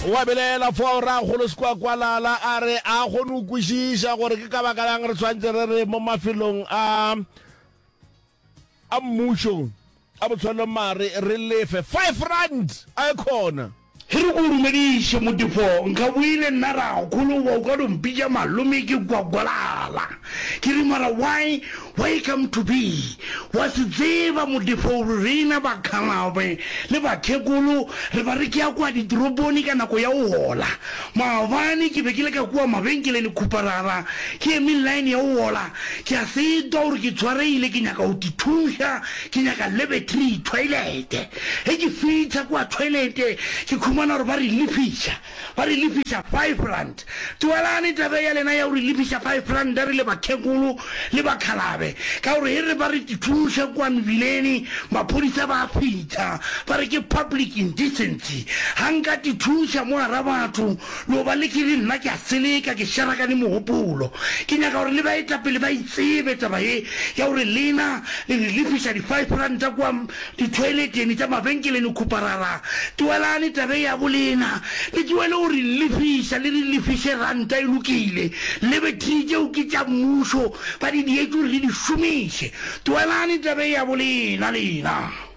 Wa belaela fao Rakgolo Sekwakwalala a re a kgone go kwešiša gore ke ka baka lang re tshwanetse re re mo mafelong a a mmušo a botshwelo mare re lefe R5 a e khona. Ge re ko dumediše Modifo, nka boile nna rakgolo goba o ka no mpitša malome ke gwagwalala. Ke re mara why, why come to be? Wa se tseba Modifo gore rena bakgalabe le bakhekolo re ba re ke ya kua ditoroponi ka nako ya go hola. Maabane ke be ke le ka kua mabenkeleng khuparara ke eme line ya go hola, ke a setwa gore ke tshwareile ke nyaka go tithuša, ke nyaka lavatory, toilet. Ge ke fihla kua toilet, ke khumana gore ba re lefiša, ba re lefiša R5. Tlogelane taba ya lena ya go re lefiša R5 re le bakhekolo le bakhalabe, ka gore ge re ba re thuša kua mebileni, maphodisa ba a fihla ba re ke public indecency. Ga nka te thuša mo gara batho, no ba le ke re nna ke a seleka, ke šarakane mogopolo. Ke nyaka gore le baetapele ba e tsebe taba ye ya gore lena le re lefiša di-R5 kua Dithoileteng tša mabenkeleng khuparara, tlogelane taba ya bolena, le tlohele go re lefiša, le re lefiše ranta e lokile, le betri tšeo ke tša mmušo, ba di dietše gore le di šomiše. Tlogelane taba ya bolena lena.